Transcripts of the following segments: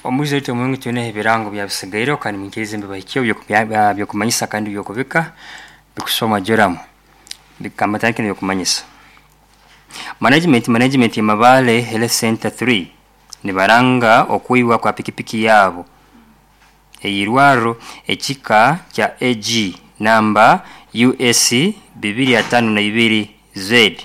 Omwizi waitu omurungi, twineho ebirango byabisigaireho kandi mwikirize mbibahikyeho byokumanyisa kandi byokubika bikusoma joramu bikamatandike nebyokumanyisa. Management ya Mabale Health Center 3 nibaranga okwibwa kwa pikipiki yabo eyirwaro ekika kya AG namba US 252 Z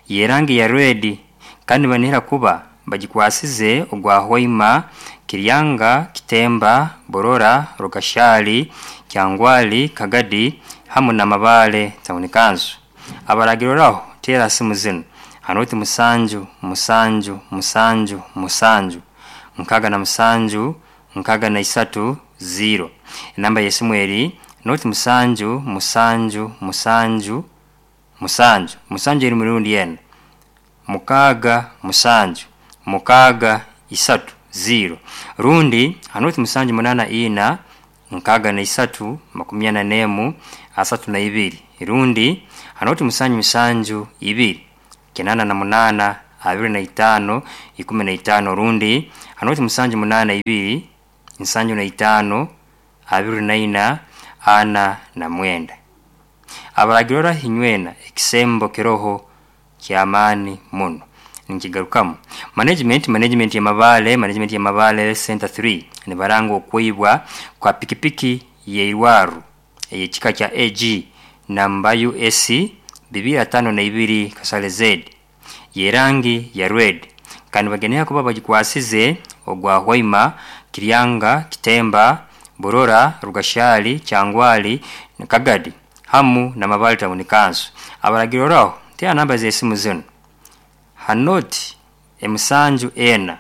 yerangi ya red kandi nibanihira kuba bagikwasize ogwa Hoima, Kiryanga, Kitemba, Burora, Rukashali, Kyangwali, Kagadi hamu na Mabale Town Council. Abaragiroraho teera simu zinu hanoti 7 7 7 7 67 63 0. Enamba y'esimu eri noti 7 7 7 7 7 eri mirundi ena 6 7 6 3 0 rundi hanoti 7 8 4 63 41 32 rundi hanoti 7 7 2 88 25 15 rundi hanoti 7 8 2 75 24 49. Abaragirora hinywena ekisembo kiroho kyamaani muno. Nkigarukamu management ya Mabale Health Center 3 nibaranga okwibwa kwa pikipiki y'eirwaro ey'ekika kya AG namba US 252 kasale Z y'erangi ya red kandi nibagenera kuba bagikwasize ogwa Hoima, Kiryanga, Kitemba, Burora, Rugashali, Kyangwali, Kagadi hamu na Mabale Town Council. Abaragiroraho teera namba z'esimu zinu hanoti 7 4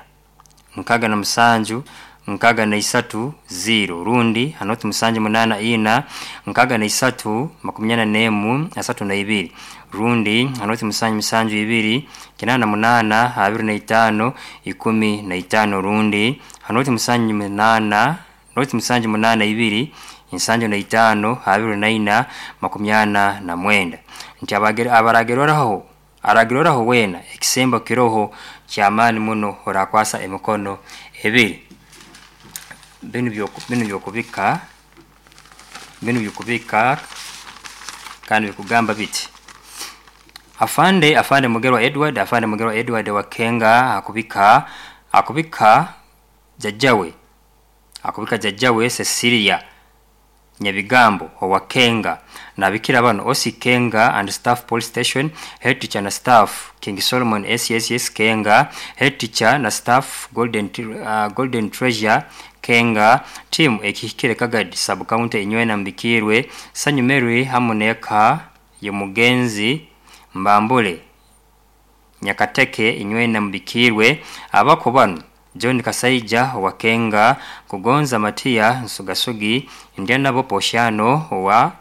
67 63 0 rundi hanoti 7 8 4 63 41 32 rundi hanoti 7 7 2 88 25 15 rundi hanoti 7 8 noti 7 8 2 75 24 49. Nti abaragiroraho aragiroraho wena ekisembo kiroho kyamaani muno orakwasa emikono ebiri. Binu byokubika kandi bikugamba biti afande Mugerwa Edward wa Kenga akubika jajjawe Cecilia Nyabigambo owa Kenga nabikira bano OC Kenga and staff police station, head teacher na staff King Solomon SSS Kenga, head teacher na staff Golden Treasure Kenga, team ekihikire Kagadi sub county inywena mbikirwe Sanyumerwe hamu neka y'omugenzi Mbambule Nyakateke inywena mbikirwe. Abako bano John Kasaija wa Kenga, Kugonza Matia Nsugasugi, Indiana Poshano wa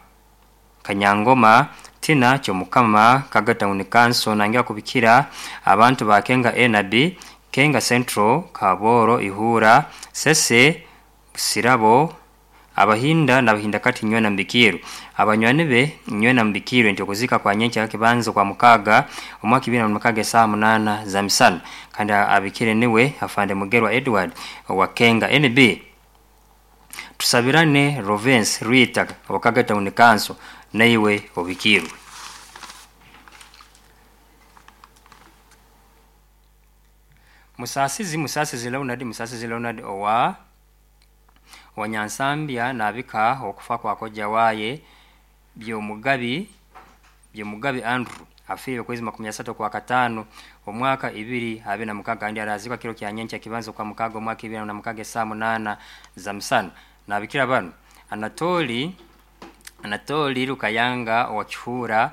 Kanyangoma, Tina Kyomukama Kaga Town Council nangira kubikira abantu ba Kenga A na B, Kenga Central, Kaboro, Ihura, Sese, Busirabo, Abahinda na Bahinda kati nywena mbikiru. Abanywani be nywena mbikiru nti okuzika kwa nyenkya kibanzo kwa mukaga omwaka 2026 saa 8 za misana kandi abikire niwe afande Mugerwa Edward wa Kenga NB. Tusabirane Rovence Rita wa Kaga Town Council naiwe obikirwe. Musasizi Leonard owa Wanyansambya nabika okufa kwa kojja waye Byomugabi Andrew afiire kwezi 13 kwa katano omwaka 2026 kandi arazikwa kiro kya nyenkya kibanzo kwa mukaga omwaka 2026 saa 8 za misana. Nabikira bano Anatoli Rukayanga owa Kihura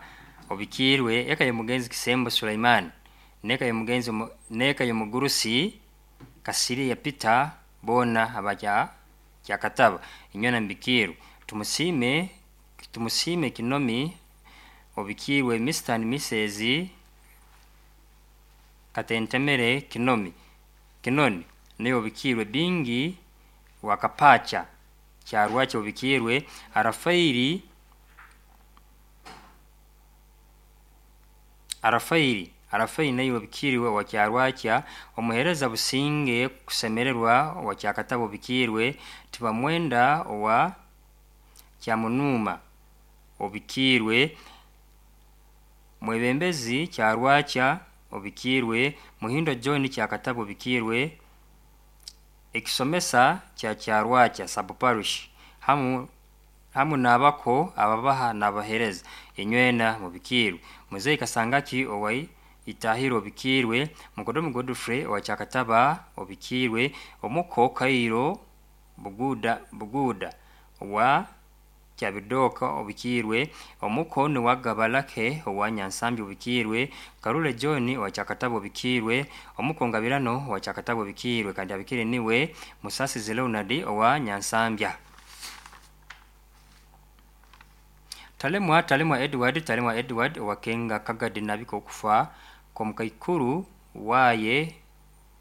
obikirwe eka y'omugenzi Kisembo Sulaiman neka y'omugurusi Kasiriya Peter bona abakya kyakataba inywena mbikiru. Tumusime Kinomi obikirwe Mr and Mrs Katentemere Kinoni naye obikirwe Bingi Wakapacha Kyarwaki obikirwe Arafairi Arafaine iwe bikirwe owa Kyarwakya, omuhereza Businge Kusemererwa owa Kyakatabo bikirwe, Tibamwenda owa Kyamunuma obikirwe, Mwebembezi Kyarwakya obikirwe, Muhindo John Kyakatabo obikirwe, ekisomesa kya Kyarwakya Sub-Parish hamu hamu n'abako ababaha n'abahereza inywena mubikirwe. Muzeyi Kasangaki owa Itahiro obikirwe, Mukodomi Godfrey owa Kyakataba obikirwe, Omuko Kairo Buguda Buguda owa Kyabidoka obikirwe, Omuko wa Gabalake owa Nyansambi obikirwe, Karule John owa Kyakataba obikirwe, Omuko Ngabirano owa Kyakataba obikirwe, kandi abikire niwe Musasizi Leonard owa Nyansambya. Talemwa Talemwa Edward Talemwa Edward owa Kenga Kagadi nabika okufa kw'omukaikuru waye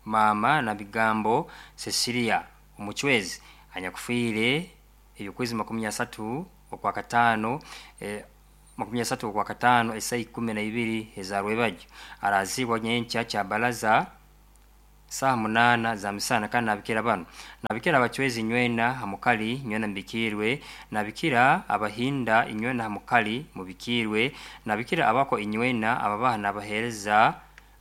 mama Nabigambo Cecilia Omuchwezi anyakufiire ebyokwezi 30 okwa katano 30 okwa katano esaa 12 eza rwebagyo. Arazibwa nyenkya kya baraza saha 8 za misana. Kandi nabikira bano nabikira abachwezi inywena hamukali inywena mbikirwe, nabikira abahinda inywena hamukali mubikirwe, nabikira abako inywena ababaha n'abahereza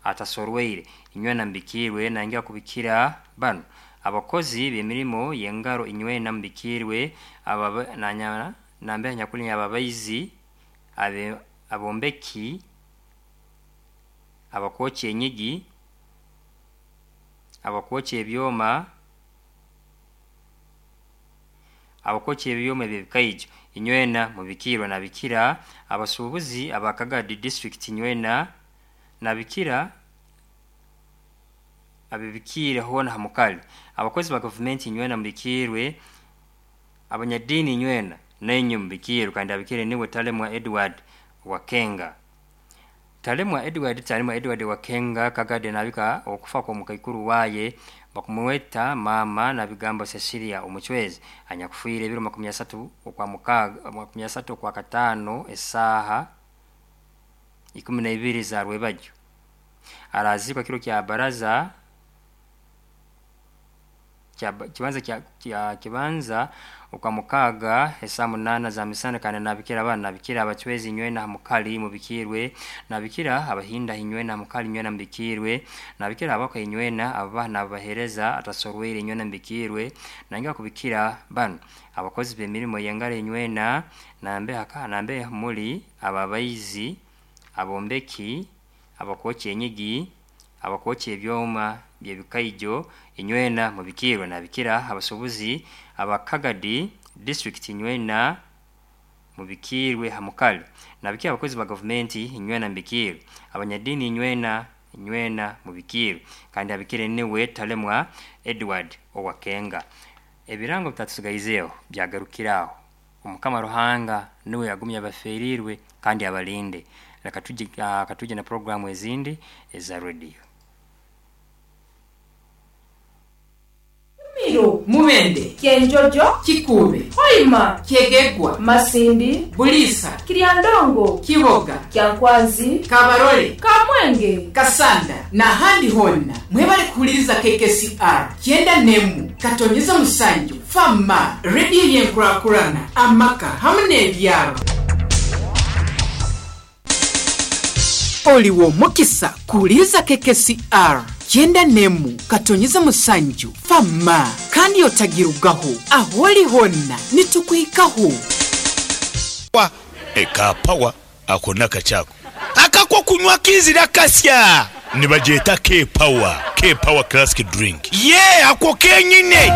atasorweire inywena mbikirwe. Nangira kubikira bano abakozi b'emirimo y'engaro inywena mbikirwe, nambeha nyakuli ababaizi, abombeki, abakwokya enyigi, abakwokya ebyoma, abakwokya ebyoma eby'ebikaijo inywena mubikirwe. Nabikira abasuubuzi aba Kagadi district inywena, nabikira abibikiire hoona hamukali, abakozi ba gavumenti inywena mubikirwe, abanyadiini inywena nainywe mubikirwe. Kandi abikire niwe Talemwa Edward Wakenga. Talemwa Edward Talemwa Edward Wakenga Kagadi nabika okufa kw'omukaikuru waye bakumweta mama Nabigambo Cecilia Omuchwezi anyakufiire ebiro 30 okwa mukaaga 30 okwa katano esaaha 12 za rwebagyo. Arazikwa kiro kya baraza kibanza kya kibanza okwa mukaaga esaa 8 za misana. Kandi nabikira abana nabikira abachwezi inywena hamukali mubikirwe, nabikira abahinda inywena hamukali inywena mubikirwe, nabikira abako inywena ababaha n'abahereza atasorweire inywena mubikirwe. Nangira kubikira bano abakozi b'emirimo y'engaro inywena, nambe muri ababaizi, abombeki, abakwokya enyigi, abakwokya ebyoma by'ebikaijo inywena mubikirwe. Nabikira abasuubuzi aba Kagadi district inywena mubikirwe hamukali, nabikira abakozi ba gavumenti inywena mubikirwe, abanyadiini inywena inywena mubikirwe. Kandi abikire niwe Talemwa Edward Owakenga. Ebirango bitatusigaizeho byagarukiraho. Omukama Ruhanga niwe agumya abaferirwe kandi abalinde. Leka tuje na programu ezindi eza radio. Miro, Mubende, Kyenjojo, Kikuube, Hoima, Kyegegwa, Masindi, Buliisa, Kiryandongo, Kiboga, Kyankwanzi, Kabarole, Kamwenge, Kasanda n'ahandi honna. Mwebale kuhuliriza KKCR 91 7 Fama rediyo y'enkurakurana amaka hamu n'ebyaro. Oliwo mukisa kuwuliriza KKCR 91.7 Fama kandi otagirugaho aho oli honna nitukwikaho. Ekapawa ako nakakyako akako kunywa kizira kasya nibagyeta K-Power, K-Power classic drink ye ako kenyine.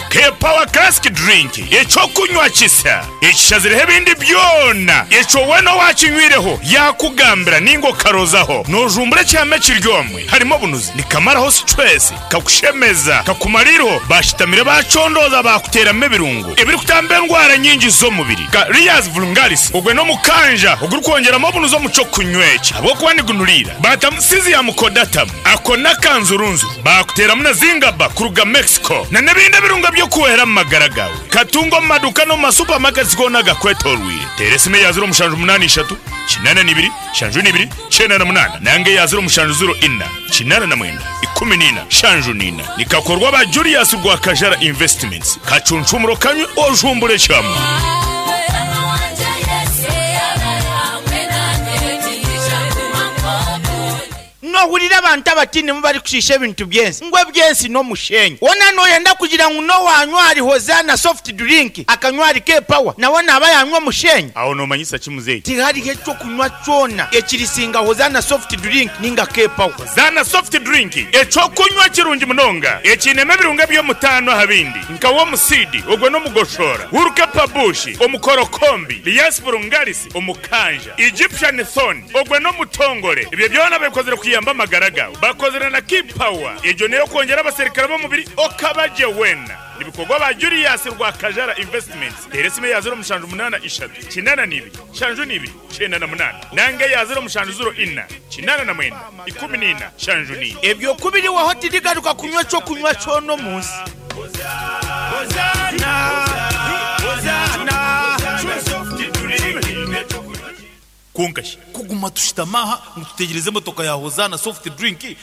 K-Power classic drink ekyokunywa kisa ekishazireho ebindi byona, ekyo wena wakinywireho yakugambira ningo karozaho nojumbura ekyama kiryomwe harimo obunuzi nikamaraho stress, kakushemeza, kakumariro bashitamire bacondoza bakuteramu ebirungo ebirikutamba endwara nyingi z'omubiri ka Rias Vulgaris ogwe n'omukanja ogurikwongeramo obunuzi omu kyokunywa eki ahabw'okuba nigunuriira batamu ya mukodatamu ako n'akanzurunzu bakuteramu na zingaba kuruga Mexico na n'ebindi ebirungo byo Karikukuhera mu magara gawe. Katunga omu maduka n'omu masupamaketi goona gakwetorwire. Teera esimu eya 0783 82 72 98 nange eya 0704 89 14 74. Nikakorwa ba Julius Rwakajara Investments. Kacuncumuro kanywe ojumbure kyama. Nohurira abantu abatini bari kushisha ebintu byensi ngo ebyensi n'omushenyi wona noyenda kugira ngu nowanywa ari Hozana soft drink akanywa ari K-Power nawe naba yanywa omushenyi. Aho nomanyisa ki, muzeyi? Tihariho ekyokunywa kyona ekirisinga Hozana soft drink ninga K-Power. Zana soft drink, ekyokunywa kirungi munonga ekinema ebirungo eby'omutaano aha bindi nka womusidi ogwe n'omugoshora wuruke pabushi omukorokombi lias burungarisi omukanja Egyptian thorn ogwe n'omutongole. Ebyo byona bikozere kuyamba amagara gawe. Bakozere na K-Power, egyo niyo kwongera abaserikare b'omubiri okabaje wena. Ibikorwa ba Julius Rwakajara Investments. Tera esimu ya 0783 82 72 98 nange ya 0704 89 14 74. Ebyo kubiriwaho tirigaruka kunywa ekyokunywa kyona omunsi. Kunkashi Kuguma tushitamaha ngo tutegereze emotoka ya Hozana soft drink.